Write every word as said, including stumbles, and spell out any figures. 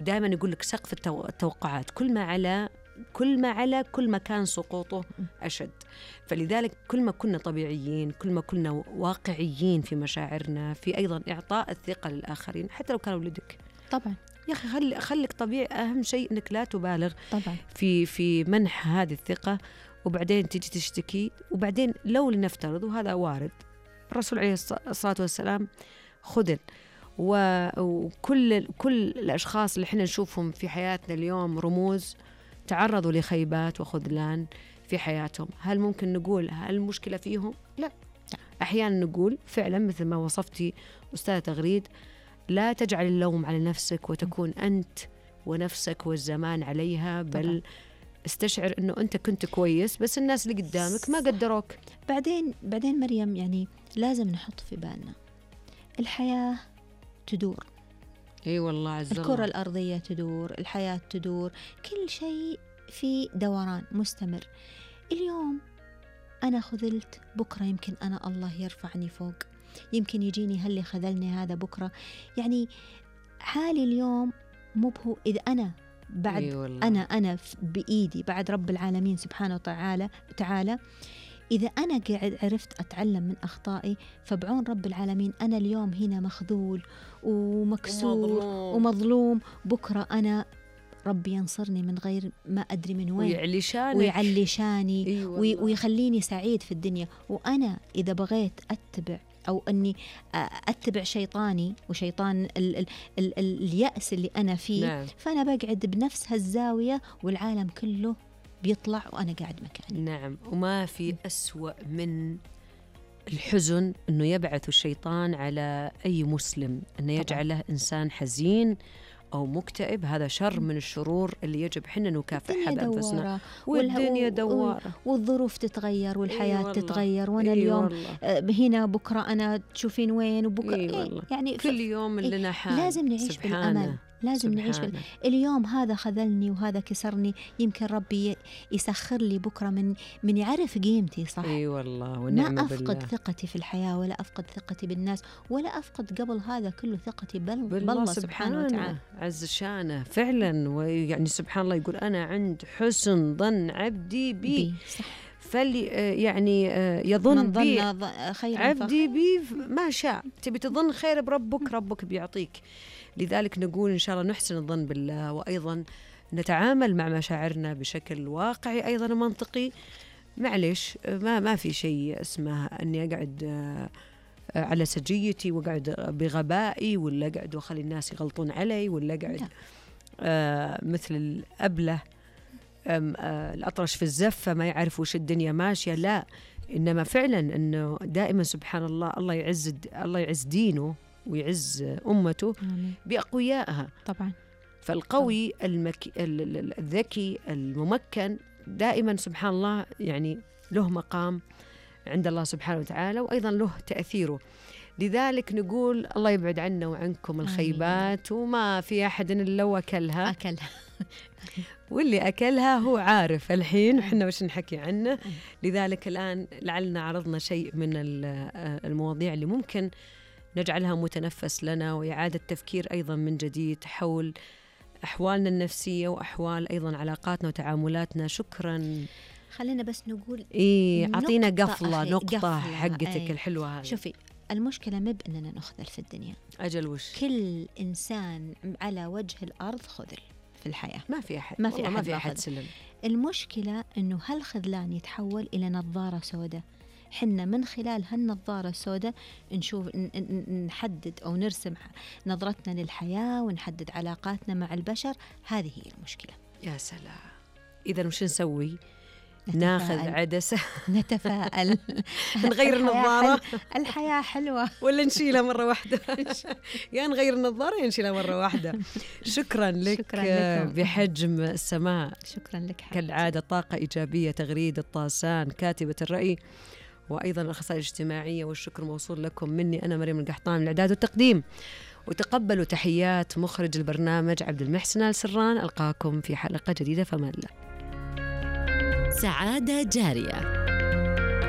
دائما يقول لك سقف التو... التوقعات كل ما على كل ما على كل ما كان سقوطه أشد. فلذلك كل ما كنا طبيعيين، كل ما كنا واقعيين في مشاعرنا، في أيضا إعطاء الثقة للآخرين حتى لو كانوا ولدك. طبعا يا أخي خلي خليك طبيعي، أهم شيء إنك لا تبالغ طبعا في في منح هذه الثقة، وبعدين تجي تشتكي. وبعدين لو لنفترض، وهذا وارد، الرسول عليه الصلاة والسلام خذل، وكل كل الأشخاص اللي احنا نشوفهم في حياتنا اليوم رموز تعرضوا لخيبات وخذلان في حياتهم. هل ممكن نقول هل المشكلة فيهم؟ لا. أحيانا نقول فعلا مثل ما وصفتي أستاذة تغريد، لا تجعل اللوم على نفسك وتكون أنت ونفسك والزمان عليها، بل طبعا. استشعر أنه أنت كنت كويس بس الناس اللي قدامك ما قدروك. بعدين بعدين مريم، يعني لازم نحط في بالنا الحياة تدور. اي والله عز الله. الكرة الأرضية تدور، الحياة تدور، كل شيء في دوران مستمر. اليوم أنا خذلت، بكرة يمكن أنا الله يرفعني فوق، يمكن يجيني هاللي خذلني هذا بكرة. يعني حالي اليوم مو بهو إذا أنا بعد أنا أنا بإيدي بعد رب العالمين سبحانه وتعالى تعالى إذا أنا قاعد عرفت أتعلم من أخطائي، فبعون رب العالمين أنا اليوم هنا مخذول ومكسور ومظلوم, ومظلوم. بكرة أنا ربي ينصرني من غير ما أدري من وين، ويعلي شانك ويعلي شاني أيوة وي ويخليني سعيد في الدنيا. وأنا إذا بغيت أتبع أو أني أتبع شيطاني وشيطان ال ال ال اليأس اللي أنا فيه، نعم. فأنا بقعد بنفس هالزاوية والعالم كله بيطلع وأنا قاعد مكاني. نعم. وما في أسوأ من الحزن أنه يبعث الشيطان على أي مسلم، أنه يجعله إنسان حزين أو مكتئب. هذا شر من الشرور اللي يجب حنا نكافحها بأنفسنا. والدنيا دوارة والظروف تتغير والحياة إيه تتغير، وأنا إيه اليوم والله. هنا بكرة أنا تشوفين وين وبكرة إيه يعني كل يوم لنا إيه حال. لازم نعيش بالأمل، لازم نعيش بال... اليوم هذا خذلني وهذا كسرني، يمكن ربي يسخر لي بكرة من من يعرف قيمتي. صح. اي والله ونعم ما أفقد بالله. ثقتي في الحياة، ولا أفقد ثقتي بالناس، ولا أفقد قبل هذا كله ثقتي بل... بالله سبحانه, سبحانه وتعالى عز شانه فعلا. ويعني سبحان الله يقول أنا عند حسن ظن عبدي بي, بي. صح. فلي يعني يظن بي عبدي بي ما شاء. تبي تظن خير بربك، ربك بيعطيك. لذلك نقول إن شاء الله نحسن الظن بالله، وأيضا نتعامل مع مشاعرنا بشكل واقعي أيضا منطقي. معلش ما ما في شيء اسمه أني أقعد على سجيتي وقعد بغبائي، ولا قعد وخلي الناس يغلطون علي، ولا قعد آه مثل الأبله آه الأطرش في الزفة ما يعرف وش الدنيا ماشية. لا، إنما فعلا أنه دائما سبحان الله الله يعز الله يعز دينه ويعز أمته بأقويائها. طبعا. فالقوي المك... الذكي الممكن دائما سبحان الله يعني له مقام عند الله سبحانه وتعالى، وأيضا له تأثيره. لذلك نقول الله يبعد عنا وعنكم الخيبات، وما في أحد إلا وأكلها أكلها واللي أكلها هو عارف الحين وحنا وش نحكي عنه. لذلك الآن لعلنا عرضنا شيء من المواضيع اللي ممكن نجعلها متنفس لنا وإعادة تفكير أيضا من جديد حول أحوالنا النفسية وأحوال أيضا علاقاتنا وتعاملاتنا. شكرا. خلينا بس نقول إيه، عطينا قفلة أخي. نقطة قفلة. حقتك أي. الحلوة هذه. شوفي، المشكلة مو بأننا نخذل في الدنيا. أجل وش؟ كل إنسان على وجه الأرض خذل في الحياة. ما في أحد ما في أحد, ما في أحد سلم. المشكلة أنه هالخذلان يتحول إلى نظارة سوداء. حنا من خلال هالنظارة السوداء نشوف نحدد أو نرسم نظرتنا للحياة ونحدد علاقاتنا مع البشر. هذه هي المشكلة. يا سلام. إذا وش نسوي؟ ناخذ عدسة نتفائل نغير النظارة. الحياة حلوة. ولا نشيلها مرة واحدة. يا نغير النظارة يا نشيلها مرة واحدة. شكرا لك. شكرا بحجم السماء. شكرا لك حبيبتي. كالعادة طاقة إيجابية. تغريد الطاسان كاتبة الرأي وأيضا الأخصائية الاجتماعية. والشكر موصول لكم مني أنا مريم القحطان من الإعداد والتقديم. وتقبلوا تحيات مخرج البرنامج عبد المحسن آل سران. ألقاكم في حلقة جديدة فمان الله. سعادة جارية.